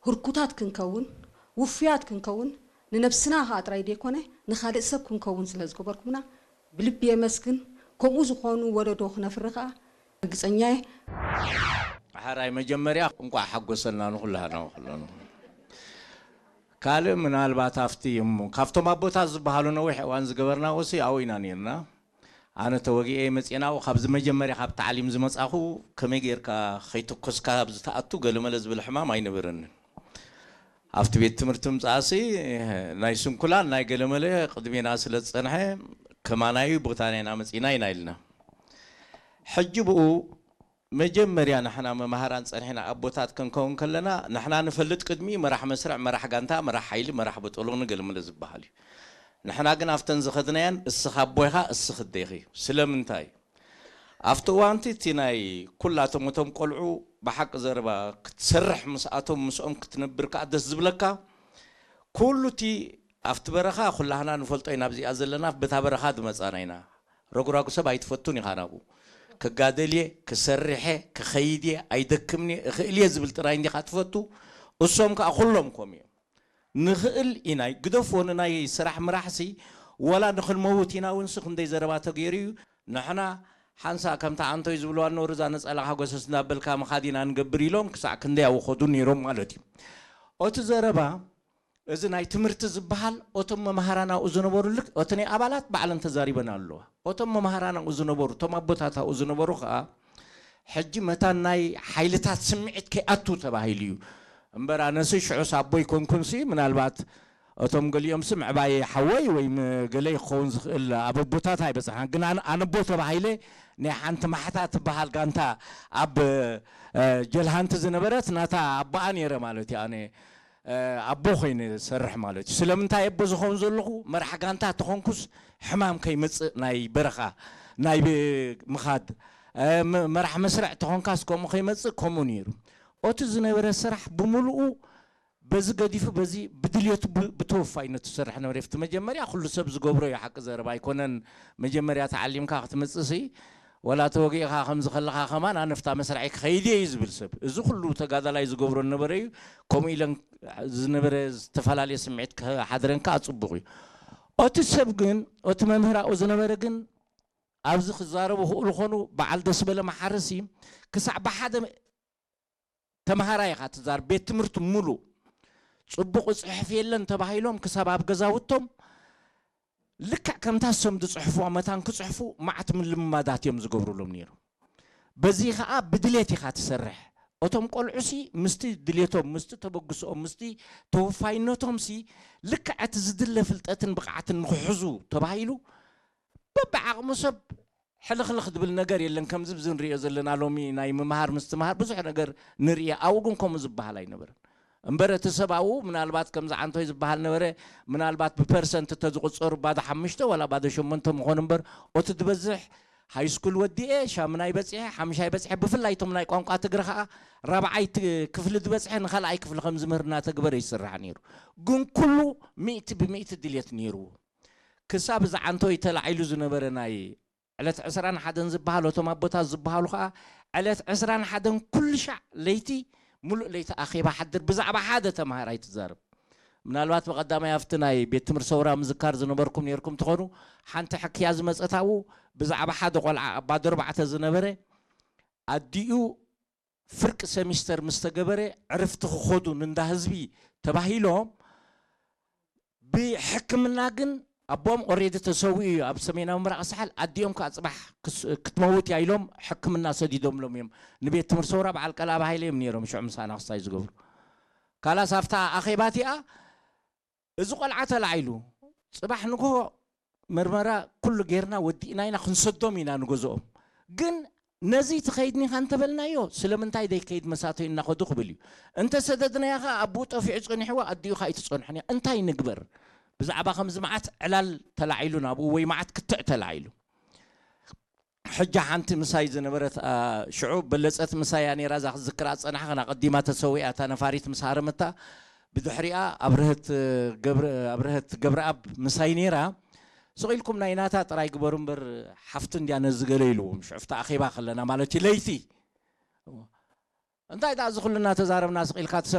ህርኩታት ክንከውን፣ ውፉያት ክንከውን፣ ንነብስና ከኣ ጥራይ ዘይኮነ ንኻልእ ሰብ ክንከውን ስለ ዝገበርኩምና ብልቢ የመስግን። ከምኡ ዝኾኑ ወለዶ ክነፍሪ ከኣ ርግጸኛ እየ። ሓራይ መጀመርያ እንቋዕ ሓጎሰና ንኹላህና ኩለኑ። ካልእ ምናልባት ኣብቲ እሞ ካብቶም ኣቦታት ዝበሃሉ ነዊሕ እዋን ዝገበርናዎ ሲ ኣብኡ ኢና ነርና። ኣነ ተወጊኤ መፅኤ ናብኡ ካብዚ መጀመርያ ካብ ታዕሊም ዝመፃኹ ከመይ ጌርካ ከይተኮስካ ኣብዚ ትኣቱ ገለመለ ዝብል ሕማም ኣይነበረንን። ኣብቲ ቤት ትምህርቲ ምፅኣሲ ናይ ስንኩላን ናይ ገለመለ ቅድሜና ስለ ዝፀንሐ ከማናዩ ቦታ ናይና መፂና ኢና ኢልና። ሕጂ ብኡ መጀመርያ ንሕና መማህራን ጸኒሕና ኣቦታት ክንከውን ከለና ንሕና ንፈልጥ ቅድሚ መራሕ መስርዕ፣ መራሕ ጋንታ፣ መራሕ ሓይሊ፣ መራሕ በጦሎኒ ገለመለ ዝበሃል እዩ። ንሕና ግን ኣብተን ዝኸድናየን እስኻ ኣቦ ኢኻ፣ እስኺ ኣደ ኢኺ። ስለምንታይ? ኣብቲ እዋንቲ እቲ ናይ ኩላቶም እቶም ቆልዑ ብሓቂ ዘረባ ክትሰርሕ ምስኣቶም ምስኦም ክትነብር ከኣ ደስ ዝብለካ ኩሉ እቲ ኣብቲ በረኻ ኩላህና ንፈልጦ ኢና፣ ኣብዚኣ ዘለና በታ በረኻ ዝመጻና ኢና። ረጉራጉ ሰብ ኣይትፈቱን ኢኻ ናብኡ። ክጋደል እየ፣ ክሰርሕ እየ፣ ክኸይድ እየ፣ ኣይደክምን እየ፣ እኽእል እየ ዝብል ጥራይ እንዲኻ ትፈቱ። እሶም ከኣ ኩሎም ከምኡ እዮም። ንኽእል ኢና፣ ግደፍዎ ንናይ ስራሕ ምራሕሲ ወላ ንኽንመውት ኢና እውንሲ ክንደይ ዘረባ ተገይሩ እዩ። ንሕና ሓንሳእ ከምታ ኣንቶይ ዝብልዋ ኖር እዛ ነጸላኻ ጎሰስ እናበልካ ምኻድ ኢና ንገብር ኢሎም ክሳዕ ክንደይ ኣወኸዱ ነይሮም ማለት እዩ። ኦቲ ዘረባ እዚ ናይ ትምህርቲ ዝበሃል ኦቶም መምሃራን ኣብኡ ዝነበሩ ልክ ኦቲ ናይ ኣባላት ባዕለን ተዛሪበን ኣለዋ። ኦቶም መምሃራን ኣብኡ ዝነበሩ እቶም ኣቦታት ኣብኡ ዝነበሩ ከዓ ሕጂ መታን ናይ ሓይልታት ስምዒት ከይኣቱ ተባሂሉ እዩ እምበር ኣነሲ ሽዑስ ኣቦ ይኮንኩንሲ ምናልባት እቶም ገሊኦምሲ ምዕባየ ሓወይ ወይ ገለ ይኸውን ዝኽእል ኣብ ኣቦታት ኣይበፅሓን ግን ኣነ ኣነቦ ተባሂለ ናይ ሓንቲ ማሕታ ትበሃል ጋንታ ኣብ ጀልሃንቲ ዝነበረት ናታ ኣቦኣ ነይረ ማለት እዩ ኣነ ኣቦ ኮይነ ዝሰርሕ ማለት እዩ። ስለምንታይ ኣቦ ዝኸውን ዘለኹ መራሕ ጋንታ ተኾንኩስ ሕማም ከይመፅእ ናይ በረኻ ናይ ምኻድ መራሕ መስርዕ ተኾንካስ ከምኡ ከይመፅእ ከምኡ ነይሩ። ኦቲ ዝነበረ ስራሕ ብምሉኡ በዚ ገዲፉ በዚ ብድልየቱ ብተወፋይነቱ ዝሰርሕ ነበረ። ፍቲ መጀመርያ ኩሉ ሰብ ዝገብሮ እዩ ሓቂ ዘረባ ኣይኮነን። መጀመርያ ተዓሊምካ ክትመፅእ ሲ ወላ ተወጊእኻ ከምዚ ከለኻ ከማን ኣነ ፍታ መስርዐይ ክኸይድ እየ እዩ ዝብል ሰብ። እዚ ኩሉ ተጋዳላይ ዝገብሮ ነበረ እዩ። ከምኡ ኢለን ዝነበረ ዝተፈላለየ ስምዒት ክሓድረን ከዓ ፅቡቕ እዩ። ኦቲ ሰብ ግን ኦቲ መምህር ኣብኡ ዝነበረ ግን ኣብዚ ክዛረቡ ክእሉ ኮኑ በዓል ደስበለ መሓርሲ ክሳዕ ብሓደ ተምሃራይ ኢኻ ትዛር ቤት ትምህርቲ ሙሉእ ፅቡቕ ፅሕፍ የለን ተባሂሎም ክሳብ ኣብ ገዛውቶም ልክዕ ከምታ እሶም ዝፅሕፉዋ መታን ክፅሕፉ ማዕት ምልምማዳት እዮም ዝገብሩሎም ነይሩ። በዚ ከዓ ብድሌት ኢኻ ትሰርሕ። እቶም ቆልዑሲ ምስቲ ድሌቶም ምስቲ ተበግስኦም ምስቲ ተወፋይነቶምሲ ልክዕ እቲ ዝድለ ፍልጠትን ብቕዓትን ንክሕዙ ተባሂሉ በብዓቕሙ ሰብ ሕልኽልኽ ዝብል ነገር የለን። ከምዚ ብዚ ንሪኦ ዘለና ሎሚ ናይ ምምሃር ምስትምሃር ብዙሕ ነገር ንርኢ። ኣብኡ ግን ከምኡ ዝበሃል ኣይነበረን። እምበር እቲ ሰብ ኣብኡ ምናልባት ከምዚ ዓንቶይ ዝበሃል ነበረ፣ ምናልባት ብፐርሰንት እንተዝቑፀሩ ባዶ ሓሙሽተ ዋላ ባዶ ሸሞንተ ምኾኑ እምበር ኦቲ ዝበዝሕ ሃይስኩል ወዲኤ ሻምናይ በፂሐ ሓምሻይ በፂሐ ብፍላይ እቶም ናይ ቋንቋ ትግረ ከዓ ራብዓይ ክፍሊ ዝበፅሐ ንካልኣይ ክፍሊ ከም ዝምህር እናተግበረ ይስራሕ ነይሩ። ግን ኩሉ ሚእቲ ብሚእቲ ድልየት ነይርዎ። ክሳብ እዚ ዓንቶይ ተላዒሉ ዝነበረ ናይ ዕለት ዕስራን ሓደን ዝበሃል እቶም ኣቦታት ዝበሃሉ ከዓ ዕለት ዕስራን ሓደን ኩሉ ሻዕ ለይቲ ሙሉእ ለይቲ ኣኼባ ሓድር ብዛዕባ ሓደ ተምሃራይ ትዛረብ። ምናልባት ብቐዳማይ ኣብቲ ናይ ቤት ትምህርቲ ሰውራ ምዝካር ዝነበርኩም ነርኩም ትኾኑ ሓንቲ ሕክያ ዝመፀት ኣብኡ ብዛዕባ ሓደ ቆልዓ ኣባዶ ኣርባዕተ ዝነበረ ኣዲኡ ፍርቂ ሰሚስተር ምስ ተገበረ ዕርፍቲ ክኸዱ ንንዳ ህዝቢ ተባሂሎም ብሕክምና ግን ኣቦኦም ኦሬዲ ተሰዊኡ እዩ ኣብ ሰሜናዊ ምራቕ ሳሕል ኣዲኦም ከዓ ፅባሕ ክትመውት እያ ኢሎም ሕክምና ሰዲዶምሎም እዮም። ንቤት ትምህርቲ ሰውራ በዓል ቀላብ ሃይለ እዮም ነይሮም ሽዑ ምሳና ክስታይ ዝገብሩ። ካላስ ኣብታ ኣኼባ እቲኣ እዚ ቆልዓ ተላዒሉ ፅባሕ ንግሆ መርመራ ኩሉ ጌርና ወዲእና ኢና ክንሰዶም ኢና ንገዝኦም። ግን ነዚ ትኸይድ ኒኻ እንተበልናዮ ስለምንታይ ዘይከይድ መሳተዩ እናኸዱ ክብል እዩ። እንተሰደድናዮ ኸዓ ኣቦኡ ጠፊዑ ፀኒሕዎ ኣዲኡ ኸዓ ኣይትፀንሖን እያ። እንታይ ንግበር? ብዛዕባ ከምዚ መዓት ዕላል ተላዒሉ ናብኡ ወይ መዓት ክትዕ ተላዒሉ። ሕጂ ሓንቲ ምሳይ ዝነበረት ሽዑ በለፀት ምሳይ እያ ነይራ እዛ ክትዝክራ ዝፀናሕኽን ኣቐዲማ ተሰዊኣ እታ ነፋሪት ምስ ሃረመታ ብድሕሪኣ ኣብርሀት ገብረኣብ ምሳይ ነይራ። ስቕ ኢልኩም ናይ ናታ ጥራይ ግበሩ እምበር ሓፍቲ እንድያ ነዚ ገለ ኢልዎም ሽዑ ፍቲ ኣኼባ ከለና ማለት እዩ ለይቲ እንታይ ደኣ እዚ ኩሉ እናተዛረብና ስቕ ኢልካ ትሰምዕ